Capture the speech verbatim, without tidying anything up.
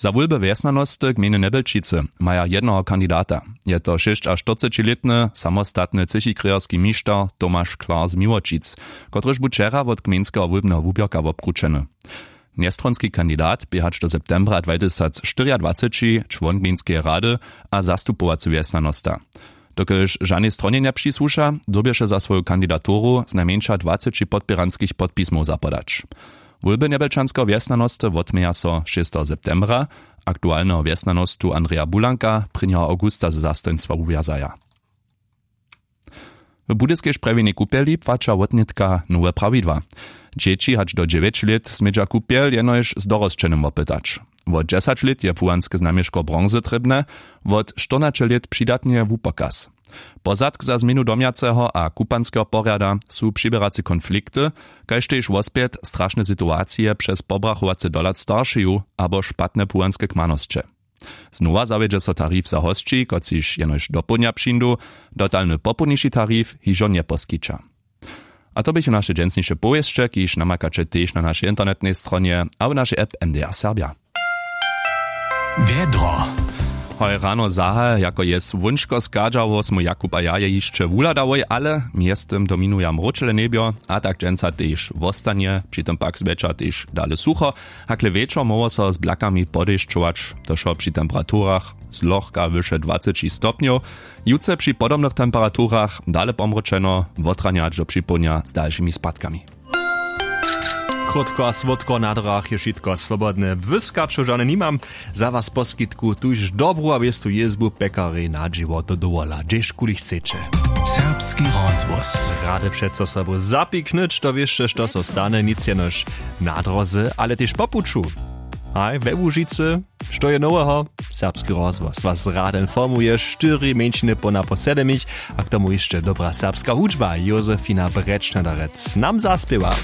Za wólby wjesnjanosty gmejny Njebjelčicy maja jednoho kandidata. Je to šěsćaštyrcećilětny samostatny třechikrějerski mišter Tomaš Klar z Miłočic, kotryž bu wčera wot gmejnskeho wólbneho wuběrka wobkrućeny. Njestronski kandidat bě hač do septembra dwatysacštyriadwaceći čłon gmejnskeje rady a zastupowacy wjesnjanosta. Dokelž žanej stronje njepřisłuša, dyrbješe za swoju kandidaturu znajmjeńša dwaceći podpěranskich podpismow zapodać. Wólby njebelčanskeho wjesnjanosty wotměja so šesteho septembra. Aktualneho wjesnjanostu Andreja Bulanka prěnjeho awgusta ze zastojnstwa wuwjazaja. W budyskej sprjewjenej kupjeli płaća wotnětka nowe prawidła. Dźěći hač do dźewjeć lět smědźa kupjel jenož z dorosćenym wopytać. Wot dźesać lět je płuwanske znamješko bronzy trěbne, wot štyrnaće lět přidatnje wupokaz. Pozadk za změnu domjaceho a kupanskeho porjada su přiběrace konflikty, kaž tež wospjet strašne situacije přez pobrachowace dohlad staršeju abo špatne płuwanske kmanosće. Znowa zawjedźe so tarif za hosći, kotřiž jenož dopołdnja přińdu. Dotalny popołdniši tarif hižo njeposkića. A to běchu naše dźensniše powěsće, kiž namakaće tež na našej internetnej stronje a w našej app M D R Serbja. Wjedro. Hoj, rano zahaj jako je słónčko schadźało, smy Jakub a ja je hišće wuhladałoj, ale mjeztym dominuja mróčele njebjo. A tak dźensa tež wostanje, při tym pak zwječor tež dale sucho. Hakle wječor móhło so z blakami podešćować, to wšo při temperaturach zlochka wyše dwaceći stopnjow. Jutře při podobnych temperaturach dale pomróčeno, wotranja hač do připołdnja z dalšimi spadkami. Krótko a słódko na drach je wšitko swobodne, błyskaćow žane nimam. Za was poskitku tuž dobru a wěstu jězbu pekarej na dźěło do dowola, hdźežkuli chceće. Serbski rozhłos. Rady přeco sobu zapiknyć, to wěsće što so stane, nic jenož na dróze, ale tež po puću. Haj, we łužicy, što je noweho? Serbski rozhłos was rady informuje, štyri mjeńšiny połna po sedemich. A k tomu hišće dobra serbska hudźba, Josefina Brečnadarec nam zaspěwa.